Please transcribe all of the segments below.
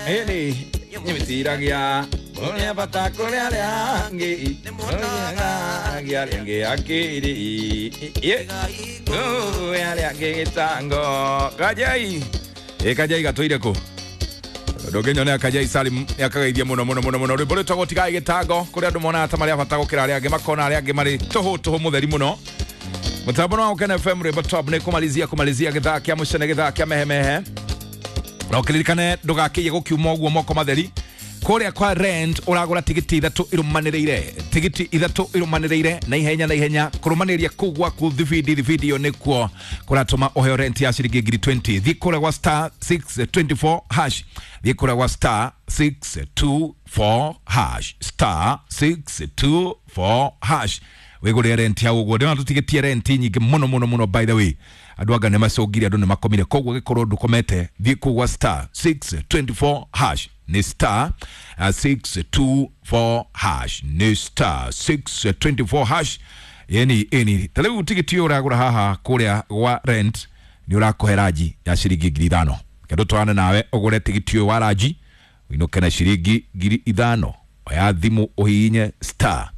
Ĩni nĩmĩtiragia ũrĩa bata kũrĩ arĩa angĩ ũrĩa arĩa angĩ akĩrĩ arĩa angĩ gĩtango kajai ĩ kajai gatũire kũ ndũngĩnyonea kajai Salim nĩakagaithia mũno mũno mũno mũno rwĩmbo rwĩtagwo tigai gĩtango kũrĩa andũ monaga ta marĩ a bata gũkĩra arĩa angĩ makona arĩa angĩ marĩ tũhũ tũhũ mũtheri mũno mũtambo wa Ũkena FM rwĩmbo top nĩ kũmalizia kũmalizia gĩthaa kĩa mũcene gĩthaa kĩa mehemehe na ũkĩririkane ndũgakĩiye gũkiuma ũguo moko matheri kũrĩa kwa rent ũragũra tigiti ithatũ irũmanĩrĩire tigiti ithatũ irũmanĩrĩire na ihenya na ihenya kũrũmanĩrĩria kũu gwaku thibindi thibindi ĩyo nĩkuo kũratũma ũheo rent ya ciringi ngiri 20 thiĩ kũrĩa gwa star 624 hash thiĩ kũrĩa gwa star 624 hash star 624 hash wĩgũrĩre rent hau ũguo ndĩrona tũtigĩtie rent nyingĩ mũno mũno mũno by the way andũ anga nĩ macũngire andũ nĩ makomire koguo gĩkorwo ndũkomete thiĩ kũu gwa star 624 hash nĩ star 624 hash nĩ star 624 hash yani ĩni ta rĩu tigiti ũyũ ũragũra haha kũrĩa gwa rent nĩ ũrakũhe ranji ya ciringi 5,000 kendo twarane nawe ũgũre tigiti ũyũ wa ranji ũinũke na ciringi 5,000 oya thimũ ũhihinye star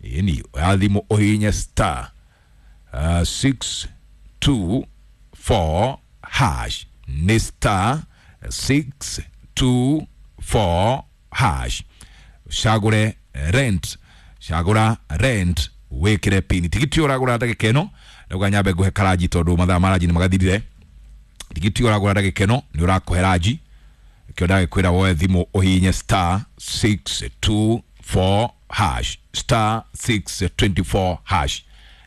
ĩni oya thimũ ũhihinye star 624 hash nĩ star 624 hash cagũre rent cagũra rent wĩkĩre pini tigiti ũyũ ũragũra ndagĩka ĩno ndauga nyambe ngũhe karanji tondũ mathaa ma ranji nĩ magathirire tigiti ũyũ ũragũra ndagĩka ĩno nĩ ũrakũhe ranji kĩo ndagĩkwĩra woe thimũ ũhihinye star 624 hash star 624 hash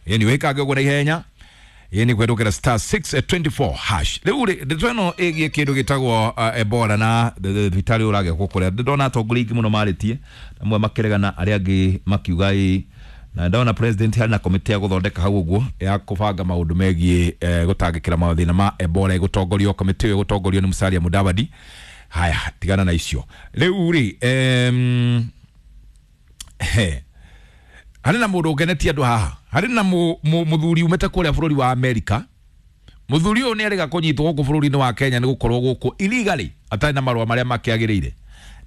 yani wĩkange ũguo na ihenya yani kwendũkĩra star 624 hash rĩu rĩ ndeto ĩno ĩgiĩ kĩndũ gĩtagwo Ebola na thibitarĩ ũragĩakwo kũrĩa ndona atongoria aingĩ mũno marĩtie amwe makĩregana arĩa angĩ makiuga ĩ na ndona president harĩ na komĩtĩ ya gũthondeka hau ũguo ya kũbanga maũndũ megiĩ gũtangĩkĩra mathĩna ma Ebola ĩgũtongorio komĩtĩ ĩyo ĩgũtongorio nĩ Musalia Mudavadi haya tigana na icio rĩu rĩ he harĩ na mũndũ ũkenetie andũ haha harĩ na mũthuri umĩte kũrĩa bũrũri wa Amerika mũthuri ũyũ nĩ arega kũnyitwo gũkũ bũrũri-inĩ wa Kenya nĩ gũkorwo gũkũ illegally atarĩ na marũa marĩa makĩagĩrĩire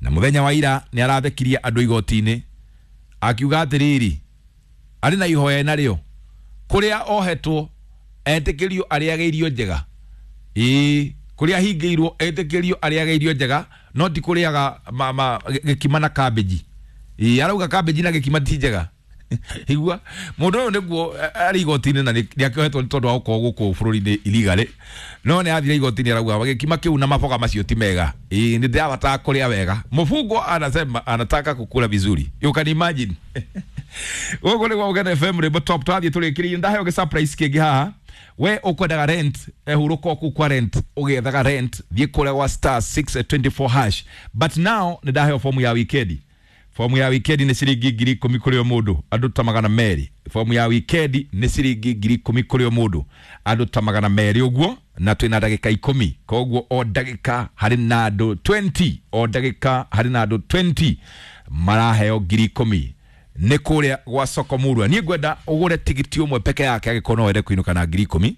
na mũthenya wa ira nĩ arathekirie andũ igoti-inĩ akiuga atĩrĩrĩ arĩ na ihoya narĩo kũrĩa ohetwo etĩkĩrio arĩage irio njega ĩĩ kũrĩa ahingĩirwo etĩkĩrio arĩage irio njega no ti kũrĩaga gĩkima na cabbage ĩĩ arauga cabbage na gĩkima ti njega igua mũndũ ũyũ nĩguo arĩ igoti-inĩ na nĩ akĩohetwo nĩ tondũ wa gũkorwo gũkũ bũrũri-inĩ illegally no nĩ athire igoti-inĩ arauga gĩkima kĩu na maboga macio ti mega ĩĩ nĩ ndĩrabatara kũrĩa wega mũbungwa anasema anataka kukula vizuri you can imagine gũkũ nĩ gwa Ũgena FM rwĩmbo top twathiĩ tũrĩkĩrĩrie ndaheo gĩ surprise kĩngĩ haha we ũkwendaga rent hurũka kũu kwa rent ũgĩethaga rent thiĩ kũrĩa gwa star 624 hash but now nĩ ndaheo fomu ya wikendi fomu ya wikendi nĩ ciringi 10,000 kũrĩ o mũndũ andũ ta 200 fomu ya wikendi nĩ ciringi 10,000 kũrĩ o mũndũ andũ ta 200 ũguo na twĩna ndagĩka 10 koguo o ndagĩka harĩ na andũ 20 o ndagĩka harĩ na andũ 20 maraheo 10,000 nĩ kũrĩa gwa soko murwa niĩ ngwenda ũgũre tigiti ũmwe peke yake angĩkorwo no wende kũinũka na 10,000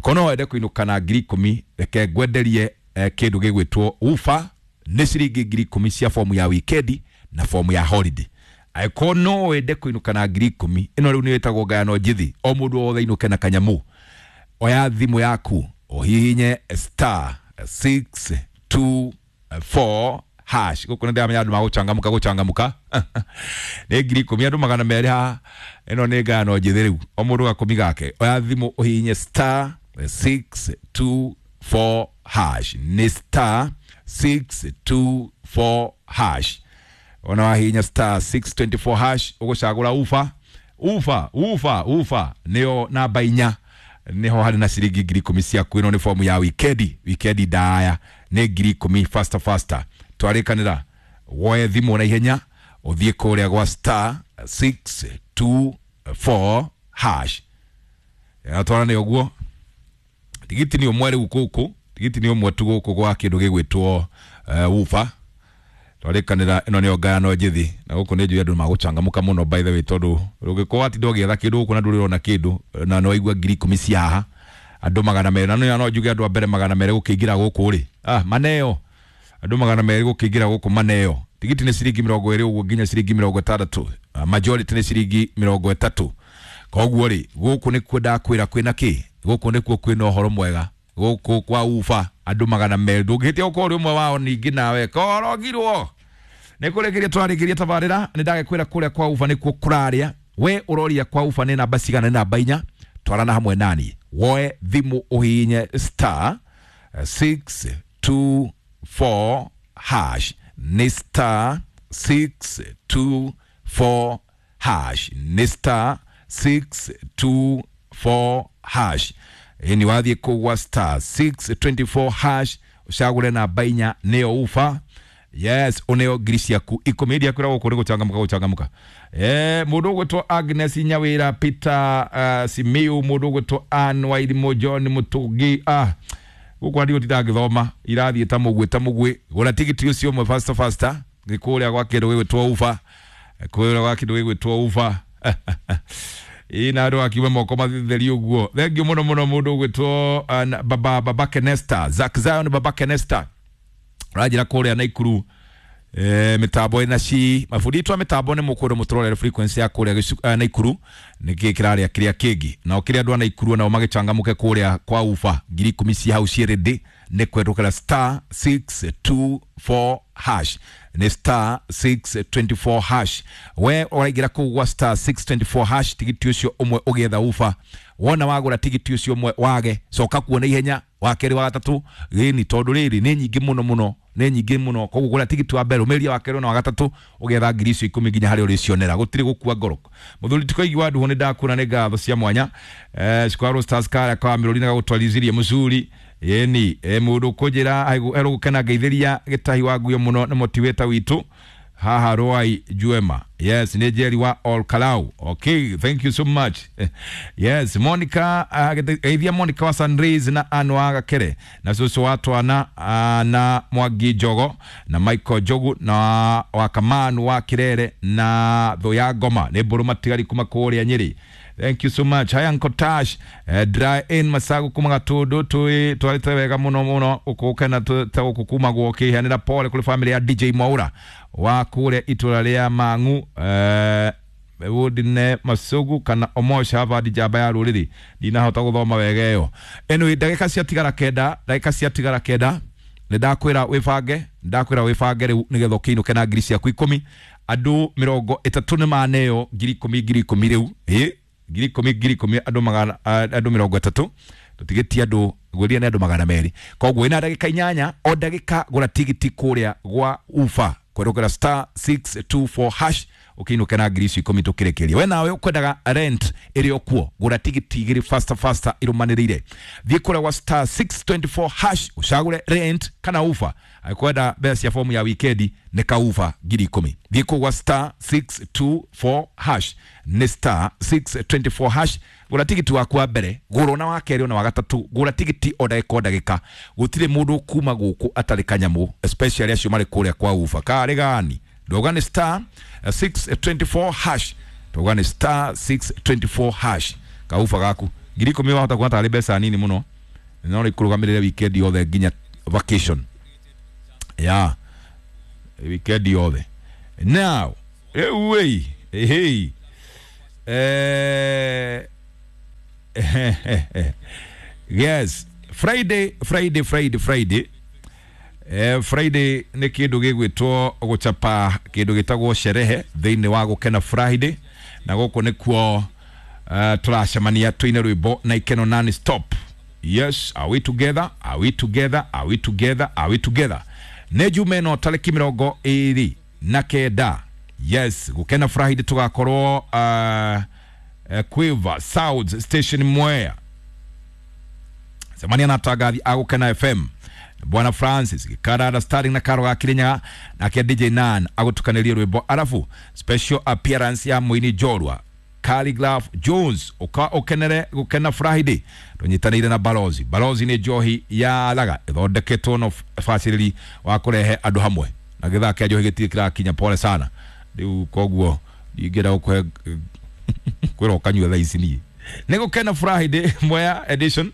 korwo no wende kũinũka na 10,000 reke ngwenderie kĩndũ gĩgwĩtwo ufa nĩ ciringi 10,000 cia fomu ya wikendi na fomu ya holiday angĩkorwo no wende kũinũka na 10,000 ĩno rĩu nĩ ĩtagwo ngayano njithi o mũndũ wothe ainũke na kanyamũ oya thimũ yaku ũhihinye star 624 hash gũkũ nĩ ndĩramenya andũ magũcangamũka gũcangamũka nĩ 10,000 andũ 200 haha ĩno nĩ ngayano njithi rĩu o mũndũ gakũmi gake oya thimũ ũhihinye star 624 hash nĩ star 624 hash ona wahihinya star 624 hash ũgũcagũra ufa ufa ufa ufa nĩyo namba inya niho harĩ na ciringi 10,000 ciaku ĩno nĩ fomu ya wikendi wikendi ndaya nĩ 10,000 faster faster twarĩkanĩra woe thimũ na ihenya ũthiĩ kũrĩa gwa star 624 hash twarane ũguo tigiti nĩ ũmwe rĩu gũkũ tigiti nĩ ũmwe tu gũkũ gwa kĩndũ gĩgwĩtwo ufa twarĩkanĩra ĩno nĩyo ngayano njithi na gũkũ nĩ njũĩ andũ magũcangamũka mũno by the way tondũ ũngĩkorwo watinda ũgĩetha kĩndũ gũkũ na ndũrĩ ũrona kĩndũ na nĩ waigua 10,000 cia haha andũ 200 na no njuge andũ a mbere 200 gũkĩingĩra gũkũ rĩ maneo Andũ 200 gũkĩingĩra gũkũ maneo. Tigiti nĩ ciringi 20 ũguo nginya ciringi 60. Majority nĩ ciringi 30. Koguo rĩ gũkũ nĩkuo ndakwĩra kwĩna kĩ? Gũkũ nĩkuo kwĩna ũhoro mwega. Gũkũ kwa ufa andũ 200 ndũngĩhĩtia gũkorwo ũrĩ ũmwe wao ningĩ nawe korogirwo. Nĩ kũrĩkĩria twarĩkĩria tabarĩra nĩ ndagĩkwĩra kũrĩa kwa ufa nĩkuo kũrarĩa. We ũroria kwa ufa nĩ namba cigana? Nĩ namba 4. Twarana hamwe nani woe thimũ ũhihinye star 624 hash. Nĩ star 624 hash. Nĩ star 624 hash. Ni wathiĩ kũu gwa star 624 hash ũcagũre namba 4 nĩyo ufa. Yes, uneo ngiri ciaku 10 iria kwĩra gũkũ nĩ gũcangamũka gũcangamũka. Mũndũ ũgwĩtwo Agnes Nyawĩra, Peter Simiu, mũndũ ũgwĩtwo Ann Wairimu, John Mũtũngi, gũkũ andigũ tindangĩthoma irathiĩ ta mũgwĩ ta mũgwĩ. Gũra tigiti ũcio ũmwe faster faster nĩ kũrĩa gwa kĩndũ gĩgwĩtwo ufa, kũrĩa gwa kĩndũ gĩgwĩtwo ufa. Ĩ na andũ akiuga moko matheri ũguo. Thengiũ mũno mũno mũndũ ũgwĩtwo baba Kenesta, Zack Zion, baba Kenesta rajira kũrĩa Naikuru. Mitambo ina ci mabundi twa mitambo nĩ mũkwĩrwo mũtũrorere frequency ya kũrĩa Naikuru nĩkĩ kĩrarĩa kĩrĩa kĩngĩ nao kĩrĩa andũ a Naikuru nao magĩcangamũke kũrĩa kwa ufa 10,000 ci hau ciĩ ready nĩ kwendũkĩra star 624 hash. Nĩ star 624 hash. We ũraingĩra kũu gwa star 624 hash tigiti ũcio ũmwe ũgĩetha ufa. Wona wagũra tigiti ũcio ũmwe wage coka kuona ihenya wa kerĩ wa gatatũ gĩni tondũ rĩrĩ nĩ nyingĩ mũno mũno nĩ nyingĩ mũno. Koguo gũra tigiti wa mbere ũmĩria wa kerĩ na wa gatatũ ũgetha ngiri icio 10 nginya harĩa ũrĩcionera gũtirĩ gũkua ngoro. Mũthuri tikoigi wa nduhu nĩ ndakuona nĩ ngatho cia mwanya. Square Stars kara kwa mĩrũri na gagũtwarithirie mũcuri yeni. Mũndũ kũnjĩra erũgũkena ngeithĩria gĩtahi wa nguo mũno nĩ motivator witũ haha Roai Juema. Yes, nĩ Jerry wa All Kalau. Okay, thank you so much. Yes, Monica geithia Monica wa Sunrays na Anwa Gakere na cũcũ wa twana na Mwangi Njogo na Michael Njogu na wa Kamanu wa Kirere na Thũ ya Ngoma nĩ mbũrũ matigari kuma kũrĩa Nyĩrĩ. Thank you so much. Haya Uncle Tash, dry in Masagu kuma Gatundu twi twarite wega muno muno ukukena ta gukumagwo kihanira pole kuri family ya DJ Mwaura wa kure itura ria Mang'u wodine Masugu kana Omosha hava njamba ya ruriri ndinahota guthoma wega iyo. Anyway, ndagika ciatigara kenda, ndagika ciatigara kenda nĩ ndakwĩra wĩbange, ndakwĩra wĩbange rĩu nĩgetha ũkĩinũke na ngiri ciaku 10. Andũ 30 nĩ maneo ngiri 10 ngiri 10 rĩu ĩ ngiri 10 ngiri 10 andũ magana andũ 30 tũtigĩtie andũ gwĩria nĩ andũ 200. Koguo ina ndagĩka 8 o ndagĩka gũra tigiti kũrĩa gwa ufa kwerũkĩra star 624 hash ũkĩinũke na ngiri icio 10 tũkĩrĩkĩria. We nawe ũkwendaga rent ĩrĩ o kuo gũra tigiti 2 faster faster irũmanĩrĩire. Thiĩ kũrĩa gwa star 624 hash ũcagũre rent kana ufa. Angĩkwenda mbeca cia fomu ya wikendi nĩ kaufa ngiri 10. Thiĩ kũu gwa star 624 hash. Nĩ star 624 hash gũra tigiti waku wa mbere gũra na wa kerĩ na wa gatatũ gũra tigiti o ndagĩka o ndagĩka. Gũtirĩ mũndũ kuma gũkũ atarĩ kanyamũ especially acio marĩ kũrĩa kwa ufa karĩ gani. Ndoga nĩ star 624 hash. Ndoga nĩ star 624 hash. Kaufa gaku ngiri 10 wahota kuona tarĩ mbeca nini mũno no rĩkũrũgamĩrĩre weekend yothe nginya vacation ya weekend yothe. Now rĩu ĩ yes, Friday Friday Friday Friday Friday nĩ kĩndũ gĩgwĩtwo gũchapa kĩndũ gĩtagwo sherehe thĩinĩ wa gũkena Friday na gũkũ nĩkuo tũracemania tũine rwĩmbo na ikeno non stop. Yes, are we together? Are we together? Are we together? Are we together? Nĩ Jumaa ĩno tarĩki 29. Yes, gũkena Friday tũgakorwo Quiver South Station Mwea. Cemania na atangathi a Gũkena FM Bwana Francis Gikarara starring na Karo ga Kirinyaga nake DJ Nan agutukanirie rwimbo arafu special appearance ya muini Njorua Khaligraph Jones uka ukenere gukena Friday tunyitanire na Balozi. Balozi ni njohi ya laga ithondeketwo no facility wa kurehe andu hamwe na githaa kia njohi gitire kirakinya pole sana riu koguo ndingienda gukuhe kwira ukanyue thaa ici nie. Nĩ Gũkena Friday Mwea edition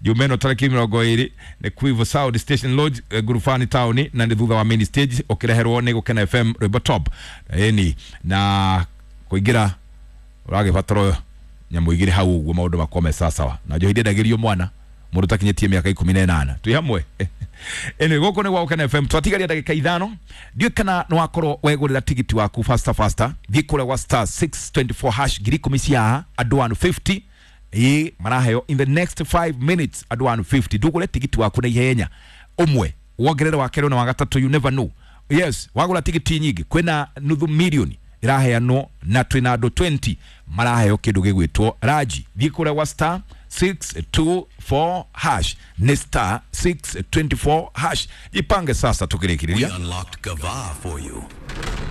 Jumeno tarĩki 20 nĩ Quivo Sound Station Lodge, Ngurubani town, na nĩ thutha wa main stage ũkĩreherwo nĩ Gũkena FM rwĩmbo top. Ĩni na kũingĩra ũragĩbatara nyamũ igĩrĩ hau ũguo maũndũ makorwo me sawasawa, na njohi ndendagĩrio mwana mũndũ takinyĩtie mĩaka 18. Twĩ hamwe. Anyway, gũkũ nĩ gwa Gũkena FM, twatigaria ndagĩka 5. Ndiũĩ kana nĩ wakorwo wegũrĩra tigiti waku faster faster. Thiĩ kũrĩa gwa star 624 hash, 10,000 cia haha, andũ 150 ĩ maraheo in the next 5 minutes, andũ 150. Ndũgũre tigiti waku na ihenya, ũmwe wongerere wa kerĩ na wa gatatũ, you never know. Yes, wagũra tigiti nyingĩ kwĩna nuthu milioni iraheanwo na twĩna andũ 20 maraheo kĩndũ gĩgwĩtwo raji. Thiĩ kũrĩa gwa star 624 hash, nĩ star 624 hash. Jipange sasa tukĩrĩkĩrĩria. We unlocked Gava for you.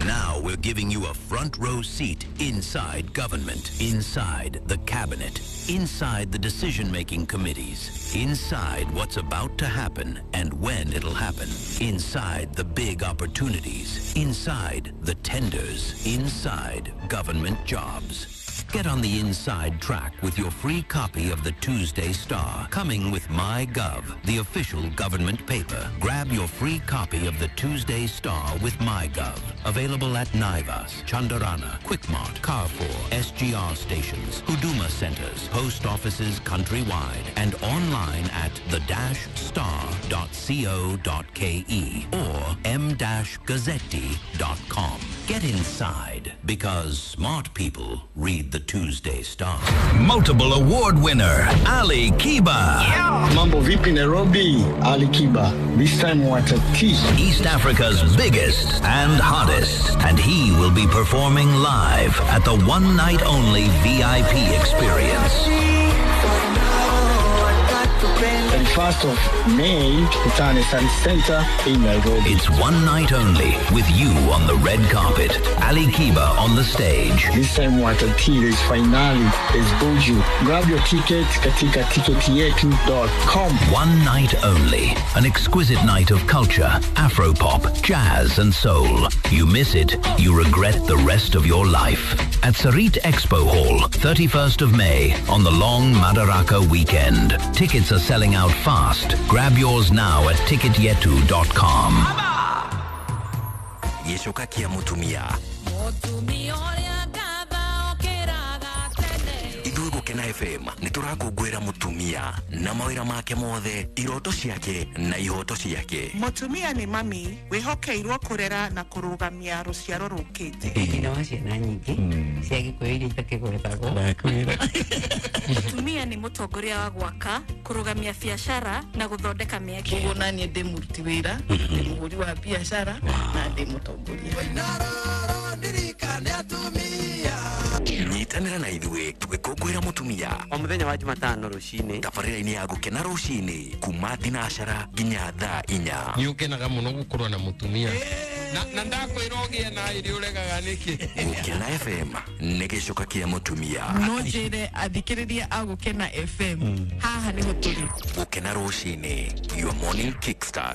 Now we're giving you a front row seat inside government, inside the cabinet, inside the decision-making committees, inside what's about to happen and when it'll happen, inside the big opportunities, inside the tenders, inside government jobs. Get on the inside track with your free copy of the Tuesday Star, coming with MyGov, the official government paper. Grab your free copy of the Tuesday Star with MyGov. Available at Naivas, Chandarana, Quickmart, Carrefour, SGR stations, Huduma centers, post offices countrywide, and online at the-star.co.ke or m-gazzetti.com. Get inside, because smart people read the Tuesday Star. Multiple award winner, Ali Kiba. Yeah. Mambo vipi Nairobi, Ali Kiba. This time watati. East Africa's biggest and hottest. And he will be performing live at the one night only VIP experience. 31st of May, Kitane Sun Center in Nairobi. It's one night only with you on the red carpet, Ali Kiba on the stage. This time watati, there's finale, there's Buju. Grab your ticket katika ticketyetu.com. One night only, an exquisite night of culture, afropop, jazz and soul. You miss it, you regret the rest of your life. At Sarit Expo Hall, 31st of May, on the long Madaraka weekend. Tickets are selling out fast. Grab yours now at ticketyetu.com. Gĩcoka kĩa mũtumia. Ithuĩ Gũkena FM nĩ tũrakũngũĩra mũtumia na mawĩra make mothe, iroto ciake na ihoto ciake. Mũtumia nĩ mami wĩhokeirwo kũrera na kũrũgamia rũciaro rũkĩte. Nyina wa ciana nyingĩ cia Gĩkũyũ iria itakĩgwetagwo. Mũtumia nĩ mũtongoria wa gwaka, kũrũgamia biacara na gũthondeka mĩeke. Ũguo naniĩ ndĩ mũruti wĩra, ndĩ mũhũri wa biacara na ndĩ mũtongoria. Nyitanĩra na ithuĩ tũgĩkũngũĩra mũtumia o mũthenya wa Jumatano rũcinĩ, tabarĩra-inĩ ya Gũkena rũcinĩ kuma thinacara nginya thaa 4. Nĩ ũkenaga mũno gũkorwo na mũtumia na ndakwĩra ũgĩe na irio ũregaga nĩkĩ. Gũkena FM nĩ gĩcoka kĩa mũtumia. No njĩre athikĩrĩria a Gũkena FM haha nĩho tũrĩ. Gũkena rũcinĩ, your morning kickstart.